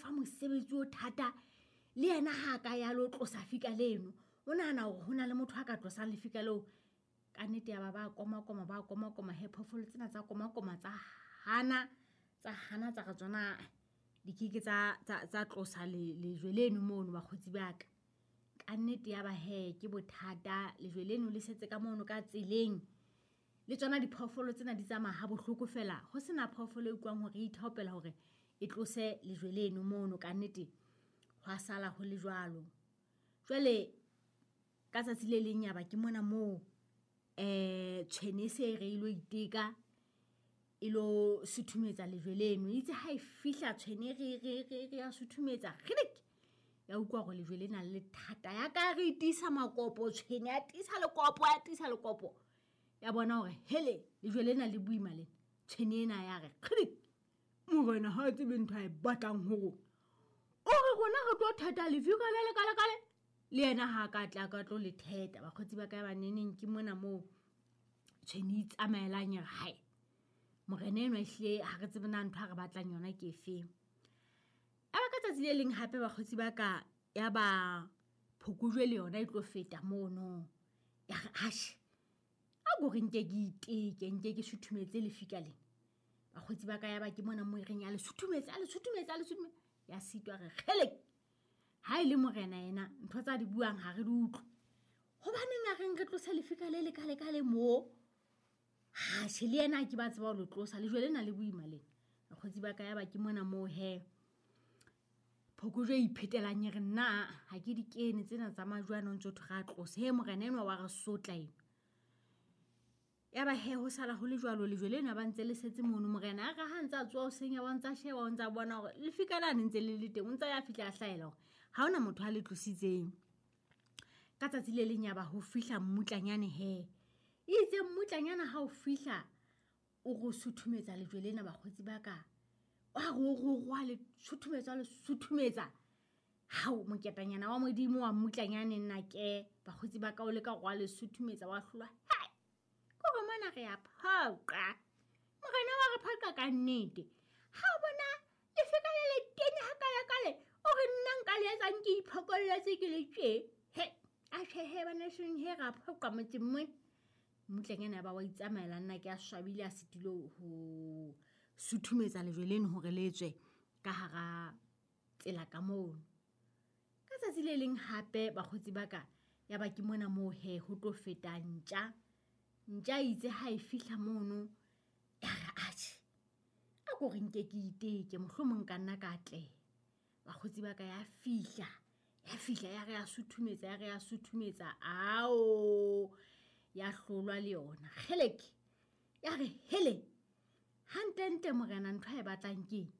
fa mosebetsi o thata le yena ha a ka ya lo tlosa fika leno o nahana hore ho na le motho a ka tlosang lefika leo ka nnete ya ba ba komakoma ba komakoma he phoofolo tsena tsa komakoma tsa hana tsa hana tsa re tsona di keke tsa tsa tlosa lejwe leno mono bakgotsi ba ka ka nnete ya ba he ke bothata lejwe leno le setse ka mono ka tseleng le tsona diphoofolo tsena di tsamaya ha bohloko fela ho sena phoofolo e utlwang hore e ithaopela hore e tlose lejwe leno mono ka nnete hwa sala ho le jwalo jwale ka tsatsi le leng yaba ke mona moo um tshwene e se e re e lo iteka e lo suthumetsa lejwe leno itse ha e fihla tshwene re ya suthumetsa kgidik ya utlwa gore lejwe le na le thata ya ka re tiisa makopo tshwene ya tiisa lekopo ya tiisa lekopo ya bona gore hele lejwe lena le boima lena tshwene ena ya re kgidik morena ga a tsebe ntho a e batlang go rona o re rona re tlo theta lefika le lekalekale le yena ga a ka tla ka tlo le theta bakgotsi ba ka ba neneng ke mona moo tshwene itsamaelang e re hae morena eno ehlile ga re tsebe na ntho a re batlang yona ke efeng a ba ka tsatsi le leng gape bakgotsi ba ka ya ba phokojwe le yona e tlo feta mono ya re ashe a kore nke ke iteke nke ke suthumetse lefika lena bakgotsi ba ka ya ba ke mona mo e reng ya le suthumetse a le suthumetse a le suthumetse ya sitwa re kgelek ha e le morena ena ntho tsa di buang ga re di utlwe gobaneng a reng re tlose lefika le lekalekale moo gashe le ena ke ba tseba go lo tlosa lejwe le na le boima lena bakgotsi ba ka ya ba ke mona moo he phokojwe e iphetelang e re nna ga ke dikene tsena tsa majwe anong tse thwe ga a tlose he morena enwa wa re sotla eno ya ba he ho sala ho le jwalo lejwe lena ba ntse le setse mono morena a re ha ntse a tsoa o senya wa ntse a sheba o ntse a bona gore lefika la ne ntse le le teng o ntse ya fitlha a hlaela gore ga ona motho a le tlositseng ka tsatsi le leng ya ba ho fihla mmutlanyane he itse mmutlanyana ha o fihla o go suthumetsa lejwe lena bakgotsi ba ka wa go go go le suthumetsa le suthumetsa hao moketanyana wa modimo wa mmutlanyane nna ke bakgotsi ba ka o leka go a le suthumetsa wa hlolwa kore mona re a phoqa morena wa re phoqa ka nnete ga o bona lefeka le le tenya ga kalekale o re nna nka le etsang ke iphokolletse ke le tse he a tjhehe bana seng he ra phoqa motseng mo mmutlanyana ba wa itsamaela nna ke a swabile a setilo ho suthumetsa lejwe leno hore le tswe ka hara tsela ka mono ka tsatsi le leng hape bakgotsi ba ka ya ba ke mona moo he ho tlo feta ntja ntja itse ha e fihla mono ya re atjhe a ko re nke ke iteke mohlomong ka nna ka atleha bakgotsi ba ka ya fihla ya fihla ya re ya suthumetsa ya re ya suthumetsa ao ya hlolwa le yona kgeleke ya re hele hantlentle morena ntho a e batlang keng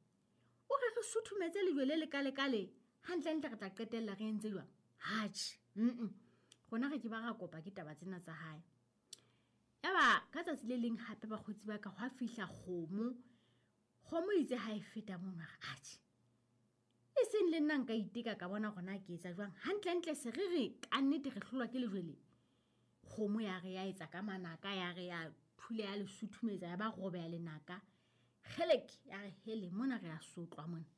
o re re suthumetse lejwe le lekalekale gantlentle re tla qetelela re entse jwang hatšhe mm rona re ke ba ra kopa ke taba tsena tsa gae yaba ka tsatsi le leng gape bakgotsi ba ka gwa fihla kgomo kgomo itse ga e feta mono re atšhe e seng le nna nka iteka ka bona gona ke etsa jwang gantlentle se re re ka nnete re hlolwa ke lejwe le kgomo ya re ya etsa ka manaka ya re ya thule ya le suthumetsa ya ba robe ya lenaka gelek ya re hele mona re a sotlwa mona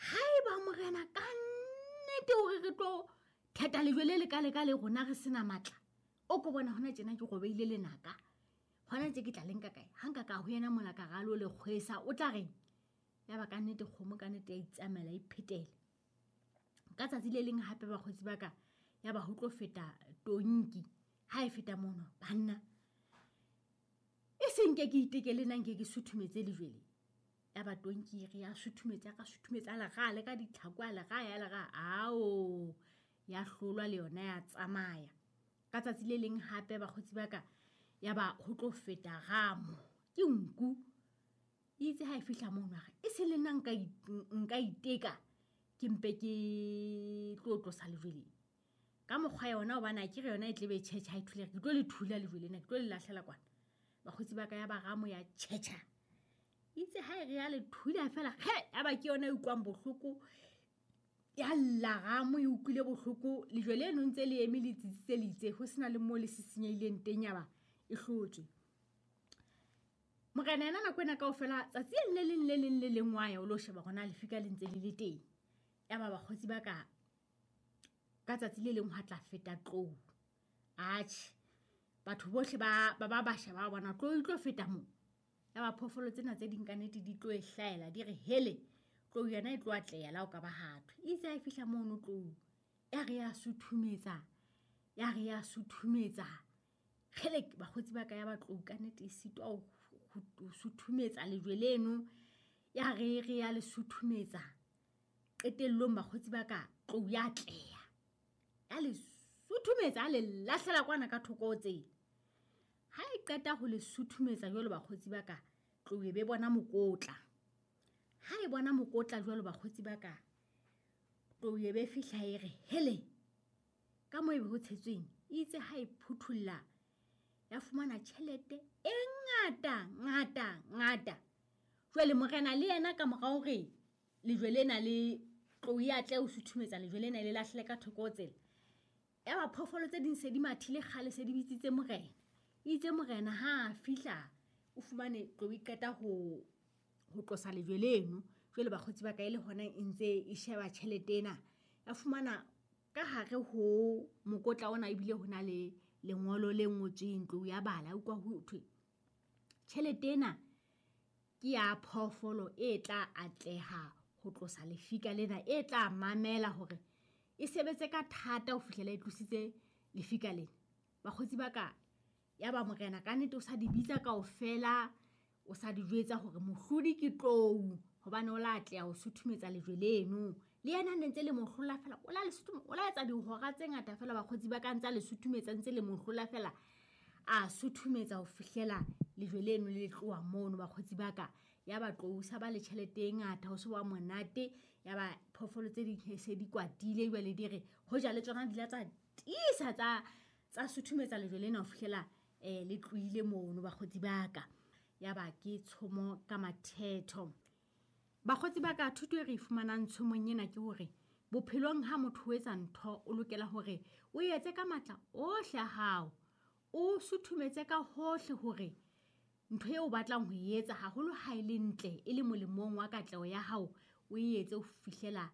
ga e ba morena ka nnete gore re tlo theta lejwe le lekaleka le rona re sena maatla o ko bona gona tjena ke robeile lenaka gona tse ke tla leng ka kae ga nka ka go yena mola ka ga lo le kgwesa o tla reng ya ba ka nnete kgomo ka nnete ya itsamaela e phetele ka tsatsi le leng gape bakgotsi ba ka ya ba go tlo feta tonki ga e feta mono banna e seng ke ke iteke le nang ke ke suthumetse lejwele ya ba tonki re ya suthumetse ka suthumetse a lega le ka ditlhako a lega ya lega ao ya hlolwa le yona ya tsamaya ka tsatsi le leng gape bakgotsi ba ka ya ba go tlo feta gamo ke nku itse ga e fitlha mo nwaga e se le nna nka iteka ke mpe ke tlo tlosa lejweleng ka mokgwa yona obane a kere yona e tlebe e tšhetšha e thulege ke tlo le thula lejwe lena ke tlo le latlhela kwana bakgotsi ba ka ya ba gamo ya tšhetšha itse ga e re ya le thula fela ge ya ba ke yona e utlwang bohloko ya lla gamo e utlwile bohloko lejwe le eno ntse le eme le tsitsitse le itse go sena le mo le se senyehileng teng ya ba e hlotswe. Morena yena nako ena kaofela tsatsi le leng le leng le leng wa ya o lo sheba hore na lefika le ntse le le teng. Ya ba bakgotsi ba ka ka tsatsi le leng hwa tla feta tlou. Atjhe, batho bohle ba ba ba sheba ba bona tlou e tlo feta mo. Ya ba phoofolo tsena tse ding ka nnete di tlo e hlahela di re hele, tlou yona e tlo atleha la ho ka ba hathwe. Itse ha e fihla mono tlou, ya re ya suthumetsa, ya re ya suthumetsa. Kgelek, bakgotsi ba ka ya ba tlou ka nnete e sitwa ho suthumetsa lejwe leno. Ya re re ya le suthumetsa. Qetellong bakgotsi ba ka tlou ya atleha. Ya le suthumetsa, ya le lahlela kwana ka thoko ho tsela. Ha e qeta ho le suthumetsa jwalo bakgotsi ba ka, tlou e be bona mokotla. Ha e bona mokotla jwalo bakgotsi ba ka, tlou e be fihla e re hele, ka moo e be ho tshetsweng. Itse ha e phuthulla, ya fumana tjhelete e ngata, ngata, ngata. Jwale morena le yena ka mora hore lejwe lena le tlou ya tle ho suthumetsa lejwe lena le lahlele ka thoko ho tsela. Ya ba phoofolo tse ding se di mathile kgale, se di bitsitse morena. Itse morena ha a fihla, o fumane tlou e qeta ho tlosa lejwe leno. Jwale bakgotsi ba ka e le hona e ntse e sheba tjhelete ena. Ya fumana ka hare ho mokotla ona ebile ho na le lengolo le ngotsweng, tlou ya bala, utlwa ho thwe tjhelete ena ke ya phoofolo e tla atleha ho tlosa lefika lena, e tla mamela hore e sebetse ka thata ho fihlela e tlositse lefika lena. Bakgotsi ba ka, ya ba morena ka nnete o sa di bitsa kaofela, o sa di jwetsa hore mohlodi ke tlou, hobane o la atleha ho suthumetsa lejwe leno. Le yena ne ntse le mo hlola fela, o la le o la etsa dihora tse ngata fela bakgotsi ba ka ntse le suthumetsa, ntse le mo hlola fela, a suthumetsa ho fihlela lejwe leno le tloha mono bakgotsi ba ka. Ya ba tlou sa ba le tjhelete e ngata, ho se wa monate. Ya ba phoofolo tse ding se di kwatile jwale di re hoja le tsona di la tsa tiisa tsa suthumetsa lejwe lena ho fihlela le tlohile mono bakgotsi ba ka. Ya ba ke tshomo ka mathetho. Bakgotsi ba ka, thuto e re fumanang tshomong ena ke hore bophelong ha motho o etsa ntho, o lokela hore o etse ka matla ohle a hao, o suthumetse ka hohle hore ntho eo o batlang ho e etsa, haholo ha e le ntle, e le molemong wa katleho ya hao, o e etse ho fihlela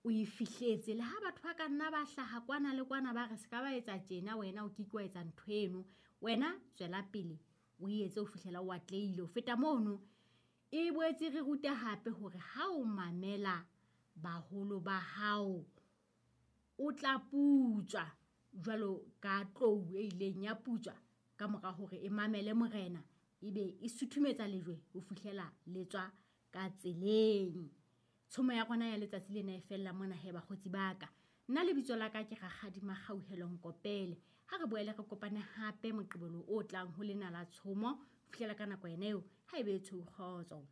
o e fihletse. Le ha batho ba ka nna ba hlaha kwana le kwana ba re se ka ba etsa tjena, wena o ke ke wa etsa ntho eno, wena tswela pele o e etse ho fihlela o atlehile. Ho feta mono, e boetse re ruta hape hore ha o mamela baholo ba hao, o tla putswa jwalo ka tlou e ileng ya putswa ka mora hore e mamele morena, ebe e suthumetsa lejwe ho fihlela le tswa ka tseleng. Tshomo ya rona ya letsatsi lena e fella mona he bakgotsi ba ka. Nna lebitso la ka ke Rakgadi Makgauhelo Nkopele. Ha re boele re kopane hape Moqebelo o tlang ho lena la tshomo. Ho fihlela ka nako ena eo, ha ebe tshweu kgotso.